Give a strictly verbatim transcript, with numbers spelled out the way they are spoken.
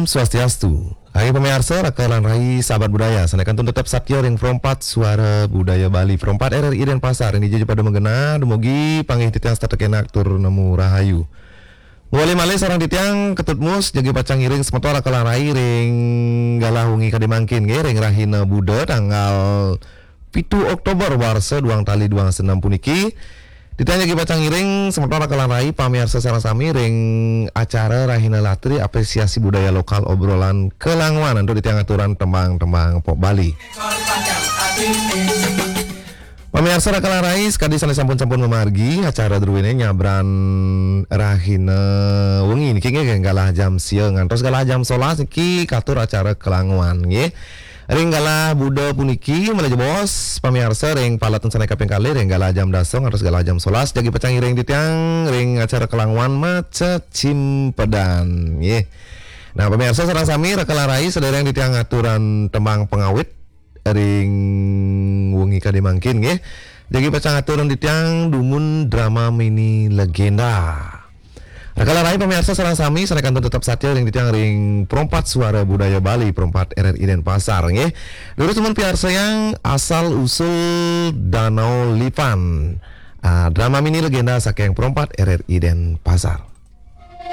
Swastiastu. Hai pamiarsa, raka lan rai sahabat budaya, sané kantun tetep satia ring Pro empat Suara Budaya Bali, Pro empat R R I Denpasar, ring dija ja pada magenah, dumugi panggih titiang tetep enak tur nemu rahayu. Malih-malih sareng titiang Ketut Mus, jagi pacang ngiring semeton raka lan rai ring galah wengi kadi mangkin nggih, ring rahina Buda tanggal pitu Oktober warsa duang tali duang dasa enam puniki. Titiang jagi pacang ngiring semeton raka lan rai pamiarsa sareng sami ring acara Rahina Latri Apresiasi Budaya Lokal Obrolan Kelanguan, antuk titiang aturan tembang-tembang pop Bali. Pamiarsa raka lan rai, sakadi sané sampun-sampun mamargi, acara druéné nyabran rahina wengi niki nggih, galah jam sia ngantos galah jam solas niki katur acara Kelanguan nggih. Ring galah Buda puniki, malih jebos pamiarsa ring paletan sané kaping kalih, ring galah jam dasa ngantos galah jam solas, jagi pacang ngiring titiang ring acara Kelanguan Macecimpedan nggih. Nah, pamiarsa sareng sami raka lan rai, sadéréng titiang aturan tembang pangawit ring wengi kadi mangkin nggih. Jagi pacang aturan titiang dumun drama mini legenda. Raka lan rai pamiarsa sareng sami, sané kantun tetep satia ring titiang ring Pro empat Suara Budaya Bali, Pro empat R R I Denpasar nggih. Durus dumun piarsayang Asal Usul Danau Lipan. Ah, drama mini legenda saking Pro empat R R I Denpasar.